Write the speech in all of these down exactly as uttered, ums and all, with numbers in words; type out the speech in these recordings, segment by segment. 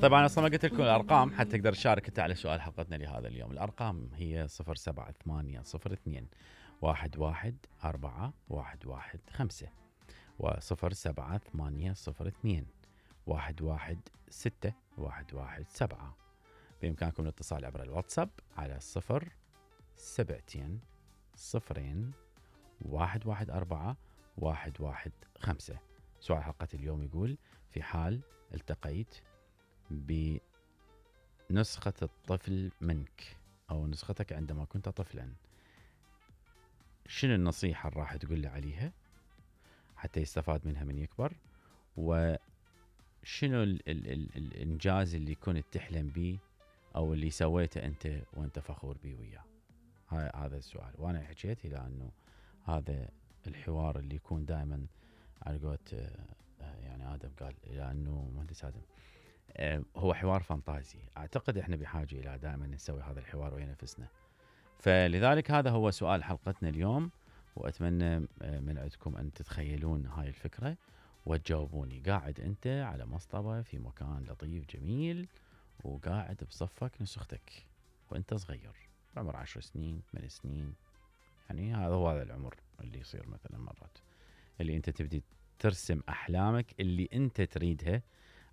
طبعا انا اصلا ما قلت لكم الارقام حتى تقدر تشارك انت على سؤال حلقتنا لهذا اليوم. الارقام هي صفر سبعة ثمانية صفر اثنين واحد واحد أربعة واحد واحد خمسة وصفر سبعة ثمانية صفر اثنين واحد واحد ستة واحد واحد سبعة. بإمكانكم الاتصال عبر الواتساب على صفر سبعتين صفرين واحد واحد أربعة واحد واحد خمسة. سؤال حلقة اليوم يقول: في حال التقيت بنسخة الطفل منك أو نسختك عندما كنت طفلا، شنو النصيحة اللي راح تقول له عليها حتى يستفاد منها من يكبر؟ وشنو ال ال ال الإنجاز اللي كنت تحلم به أو اللي سويته أنت وأنت فخور به وياه؟ هذا السؤال. وأنا حكيت إلى أنه هذا الحوار اللي يكون دائما على قولة يعني آدم قال إلى أنه مهندس آدم هو حوار فانتازي. أعتقد إحنا بحاجة إلى دائما نسوي هذا الحوار ويا نفسنا. فلذلك هذا هو سؤال حلقتنا اليوم، وأتمنى من عندكم أن تتخيلون هاي الفكرة وتجاوبوني. قاعد أنت على مصطبة في مكان لطيف جميل وقاعد بصفك نسختك وأنت صغير بعمر عشر سنين ثمان سنين، يعني هذا هو هذا العمر اللي يصير مثلا مرات اللي أنت تبدي ترسم أحلامك اللي أنت تريدها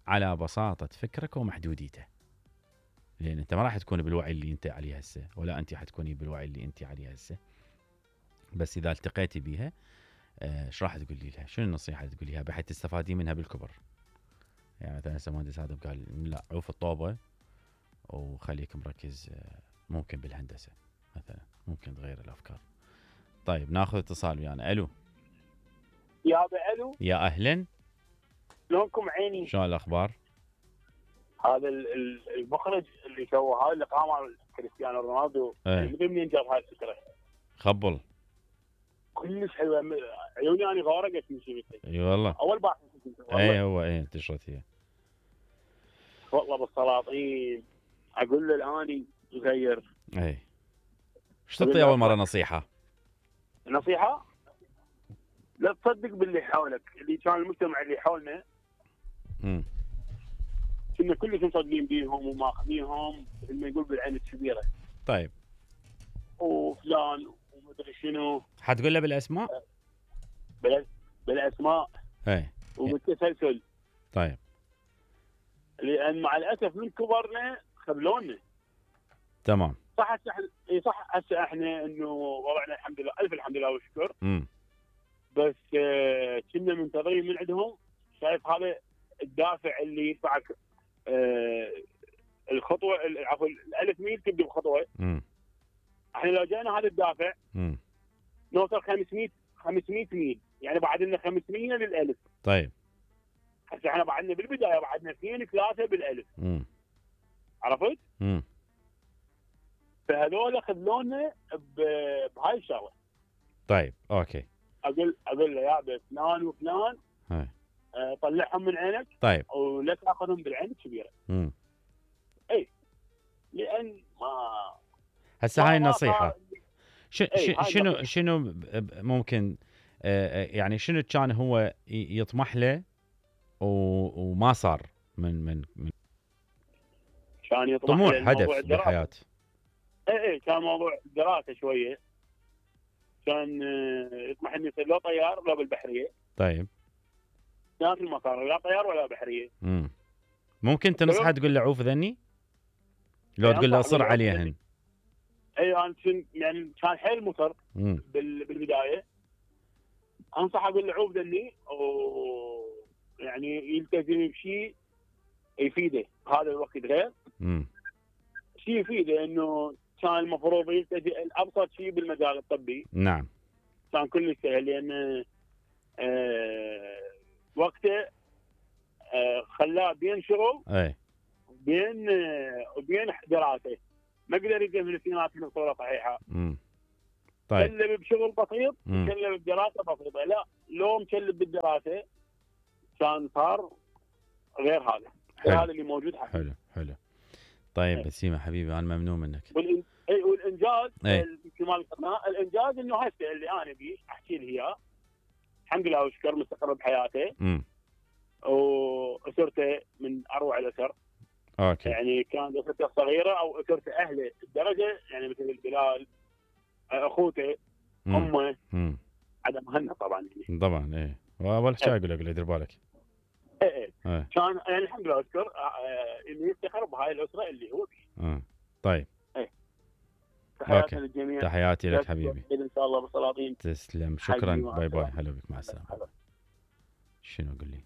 على بساطة فكرك ومحدوديته، لأن أنت ما راح تكون بالوعي اللي أنت عليه هسه، ولا أنت حتكوني بالوعي اللي أنت عليه هسه. بس إذا التقيتي بيها ايش راح تقولي لها؟ شنو النصيحة اللي تقوليها بحيث تستفادي منها بالكبر؟ يعني مثلا هسه مهندس هذا قال لا عوف الطوبة وخليك مركز ممكن بالهندسة مثلا، ممكن تغير الأفكار. طيب ناخذ اتصال ويانا. ألو يا ابو الو. يا أهلا، شلونكم عيني؟ شلون الأخبار؟ هذا المخرج اللي سوى هاي اللقاء مع كريستيانو رونالدو من منين جاب هاي الفكرة؟ خبل كلش حلوه، عيوني انا غارقت من شفتها. اي والله اول باحث اي هو اي انتشرت هي والله بالسلاطين. اقول له الاني صغير اي ايش تعطي اول مره نصيحه؟ نصيحه لا تصدق باللي حولك، اللي كان المجتمع اللي حولنا امم كنا كلش مصدقين بيهم وماخذينهم مثل ما يقول بالعين الكبيره. طيب وفلان ومدري شنو، حتقول له بالاسماء؟ بال بالاسماء اي وبالتسلسل. طيب لان مع الاسف من كبرنا خذلونا. تمام صح هسه اي صح هسه احنا انه وضعنا الحمد لله الف الحمد لله والشكر. امم بس آه كنا منتظرين من عندهم، شايف هذا الدافع اللي يدفعك آه الخطوه عفوا الالف ميل تبدا بخطوه. امم احنا لو جانا هذا الدافع امم نوصل خمسمية خمسمية ميل، يعني بعد لنا خمسمية للالف. طيب هسه احنا بعدنا بالبدايه بعدنا اثنين ثلاثه بالالف. امم عرفت؟ امم فهذول خذلونا بهاي الشغله. طيب اوكي. اقول اقول له يا فلان وفلان هاي أه طلعهم من عينك. طيب ولا تاخذهم بالعين الكبيره. امم اي لان ما هسه هاي النصيحه ش... ايه ش... شنو شنو ممكن آه يعني شنو كان هو يطمح له و... وما صار من من من كان يطمح طموح هدف بالحياه؟ اي اي كان موضوع دراسه شويه. كان يطمح انه يصير لا طيار لا بالبحريه. طيب كان في المسار لا طيار ولا بحريه. امم ممكن تنصحه تقول له عوف ذني؟ لو تقول له اصر عليهن. اي انا كنت يعني كان حيل مصر بال... بالبدايه. انصح اقول له عوف ذني ويعني يلتزم بشيء يفيده هذا الوقت غير. امم شيء يفيده انه كان المفروض يلتزم ابسط شيء بالمجال الطبي. نعم كان كلش سهل لان آه وقته آه خلاه بين شغل اي بين آه وبين دراسه. ما قدر يقدم الاثنينات بصوره صحيحه. امم طيب كلب بشغل بسيط كلب بدراسه بسيطه. لا لو مكلب بالدراسه كان صار غير هذا. غير هذا اللي موجود حاليا. حلو حلو. طيب ايه. بسيمه حبيبي انا ممنون منك. والإن... اي والانجاز ايه. كما قلنا الانجاز انه هسه اللي انا بيه احكي له اياه الحمد لله وشكر مستقر بحياته. امم واسرته من اروع الاسر. اوكي يعني كان اسرته صغيره او اسرته اهله الدرجه، يعني مثل بلال، اخوته، مم. امه، مم. عدم مهنا طبعا يعني. طبعا ايه، واول شيء اقول لك دير بالك. ايه ايه ايه كان يعني الحمد لله اذكر آه، انه يفتخر بهاي الاسره اللي هو فيها. اه طيب تحياتنا اوكي، للجميع. تحياتي لك حبيبي. ان شاء الله بالسلاطين. تسلم، حبيبي شكرا، مع باي باي، السلامة. هلا بك، مع السلامه. شنو قل لي؟